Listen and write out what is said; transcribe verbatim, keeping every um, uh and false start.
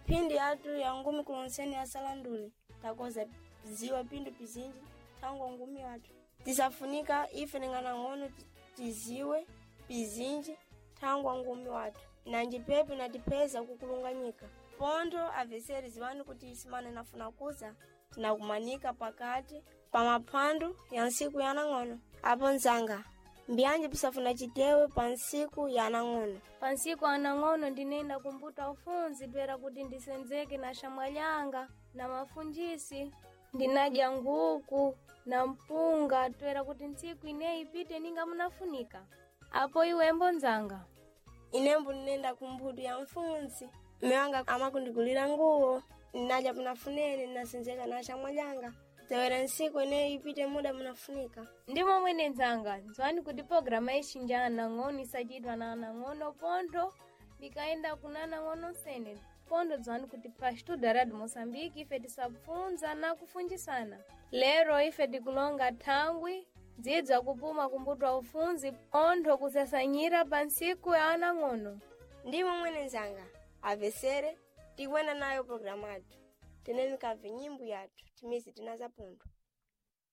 Mphindi yathu ya ngumi kulonseni ya salandule takoza ziwa pindu pizinji tangu ngumi wathu tisafunika ife ning'anang'ono tiziwe pizinji thangwa ngumi wathu nanji pepe natipeza kukulunganyika pontho aveseri ziwani kuti isimane nafuna kuza tinakumanika pakati pa maphwando ya ntsiku ya anang'ono apo nzanga mbiyanje pisafuna chitewe pa ntsiku ya anang'ono. Pa ntsiku anang'ono ndinenda kumputa ufunzi twera kuti ndisenzeke na xamwalyanga na mafunjisi ndinadya nguku na mpunga twera kuti ntsiku ineyi ipite ninga munafunika. Apo iwembo nzanga? Inembo ndinenda kumphutu ya mfunzi mme wanga amakundigulira nguwo ndinadya punafunene ndinasenzeka na xamwalyanga tewera ntsiku ineyi ipite muda munafunika. Ndi momwe nenzanga, nzwani kuti programa ixinja anang'ono isachitwa na anang'ono pontho bikaenda kuna anang'ono sene pontho dzwani kuti pa Estudo Radio Moçambique ife tisapfunza na kufunjisana. Lero ife tikulonga thangwi dzidza kupuma kumbutwa ufunzi pontho kusasanyira pa ntsiku ya anang'ono. Ndi momwe nenzanga avesere tikuena nayo programu athu teneni kabve nyimbo yathu timizi tinaza pontho.